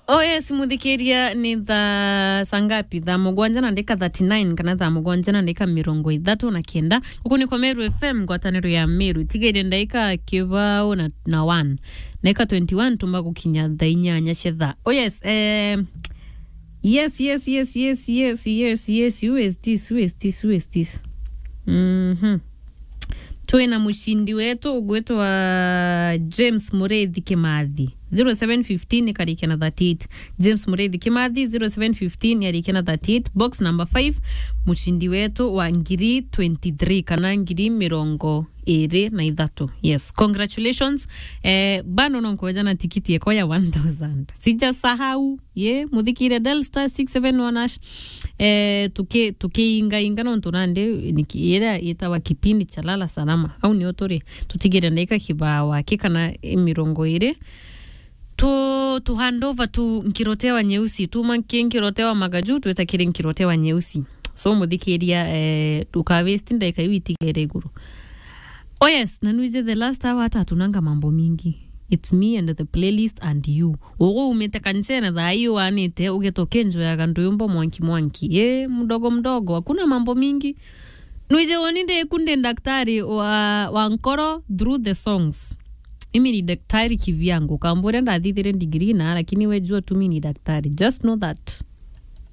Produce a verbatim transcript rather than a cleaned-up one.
Oh yes, muthikiria, ni thaa sangapi? Thaa mugwanja na ndika thirty-nine kana thaa mugwanja na ndika mirongo ithatu na kenda. Guku ni kwa Meru F M, ngwataniro ya Meru. Tigairie ndaika kibao na, na one. Ndaika twenty-one tumba gukinya thaa inyanya cia thaa. Oh yes, eh, yes, yes, yes, yes, yes, yes, yes. Who is this? Who is this? Who is this? Mhm. Twina mucindi wetu ugwitwa James Murithi Kimathi. Zero seven fifteen ikarikia na thirty-eight. James Murithi Kimathi, zero seven fifteen yarikia na thirty-eight. Box number five, mucindi wetu wa ngiri twenty-three kana ngiri mirongo iri na ithatu. Yes, congratulations. Eh, bado no nkoja na tikiti yako ya one thousand. Sijasahau. Ye, muthikire, dial star six seven one hash. Eh, tuki-, tukiingainga nontu nandi niki-, iria itawa kipindi cha lala salama. Au nio turi, tutigire ndaika kibao aki kana mirongo iri. Tu, tu hand over tu nkirotewa nyeusi. Tuma nki nkirotewa magaju, tweta kiri nkirotewa nyeusi. So, muthikiria, eh, uka waste ndaika iu itigere iguru. Oh yes, na nwije the last hour hata hatunanga mambo mingi. It's me and the playlist and you. Ugu umite kanchene thaa hii wanite, ugeta ukenjoyaga ndwimbo mwanki mwanki. Eh, mdogo mdogo, hakuna mambo mingi. Nwije woni ndiku ndi daktari wa, wa nkoro through the songs. Mimi ni daktari kivyangu. Kamburia ndathithire degree na, lakini we jua tu mimi ni daktari. Just know that.